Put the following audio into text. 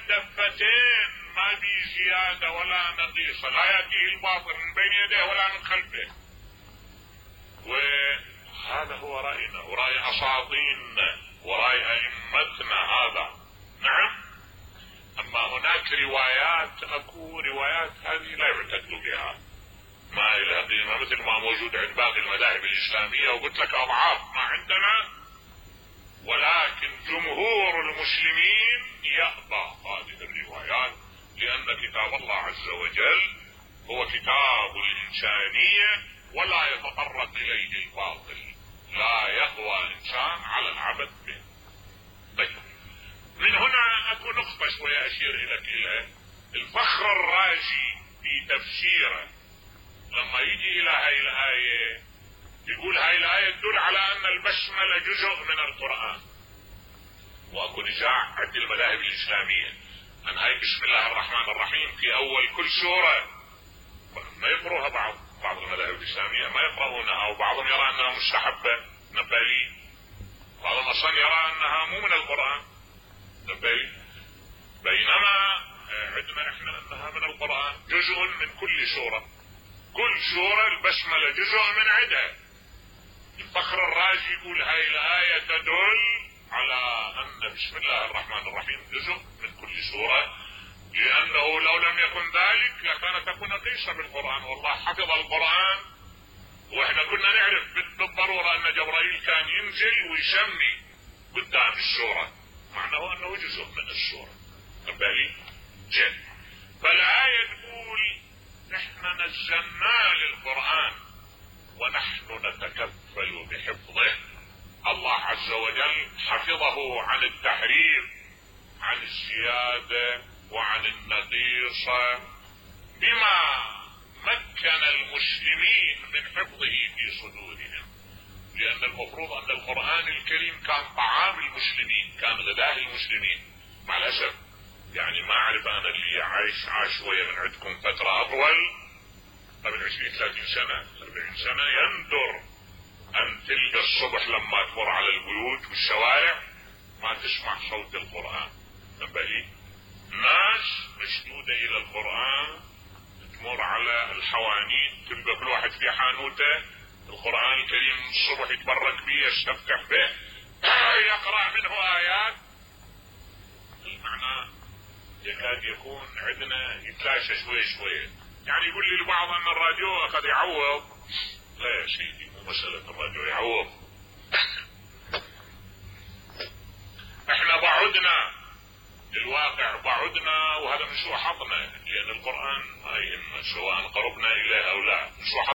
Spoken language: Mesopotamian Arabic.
الدفتين ما بي زيادة ولا نقيصة، لا يأتيه الباطل من بين يديه ولا من خلفه. وهذا هو رأينا ورأي أساطيننا ورأي أئمتنا هذا. نعم. أما هناك روايات، أكو روايات هذه لا يعتد بها، ما إلى قيمة، مثل ما موجود عند باقي المذاهب الإسلامية، وقلت لك أضعاف ما عندنا. ولكن جمهور المسلمين يأبى هذه الروايات، لأن كتاب الله عز وجل هو كتاب الإنسانية ولا يتطرق إليه الباطل، لا يقوى إنسان على العبث به. طيب، من هنا أكو نقطة شوية أشير إليها. الفخر الرازي في تفسيره لما يجي إلى هاي الآية يقول هاي الآية تدل على أن البسملة جزء من القرآن، وأكو نزاع عند المذاهب الإسلامية أن هاي بسم الله الرحمن الرحيم في أول كل سورة ما يقرأها. بعض المذاهب الإسلامية ما يقرؤونها، وبعضهم يرى أنها مستحبة نبالي، بعضهم أصلا يرى أنها مو من القرآن نبالي، بينما عندنا إحنا أنها من القرآن جزء من كل سورة. كل سورة البسملة جزء من عدها. الفخر الرازي يقول هاي الآية تدل على أن بسم الله الرحمن الرحيم جزء من كل سورة، لأنه لو لم يكن ذلك لكانت تكون نقيصة بالقرآن، والله حفظ القرآن وإحنا كنا نعرف بالضرورة أن جبرائيل كان ينزل ويسمي قدام السورة، معناه أنه جزء من السورة. بالي جد. فالآية تقول نحن نزلنا للقرآن ونحن نتكفل بحفظه. الله عز وجل حفظه عن التحريف، عن الزيادة وعن النقيصة، بما مكن المسلمين من حفظه في صدورهم. لأن المفروض أن القرآن الكريم كان طعام المسلمين، كان غذاء المسلمين. مع الأسف يعني ما أعرف أنا اللي عايش شوية من عندكم فترة أطول قبل 20-30 سنة 40 سنة، يندر أن تلقى الصبح لما تمر على البيوت والشوارع ما تسمع صوت القرآن. نبالي ناس مشدودة إلى القرآن، تمر على الحوانيت تلقى كل واحد في حانوته القرآن الكريم الصبح يتبرك به يستفتح به يقرأ منه آيات. المعنى يكاد يكون عندنا يتلاشى شوية. يعني يقول لي البعض أن الراديو قد يعوض. لا يا سيدي، مو مسألة الراديو يعوض. احنا بعدنا الواقع، بعدنا، وهذا من سوء حظنا، لأن القرآن ما يهم سواء قربنا إليه أو لا، من سوء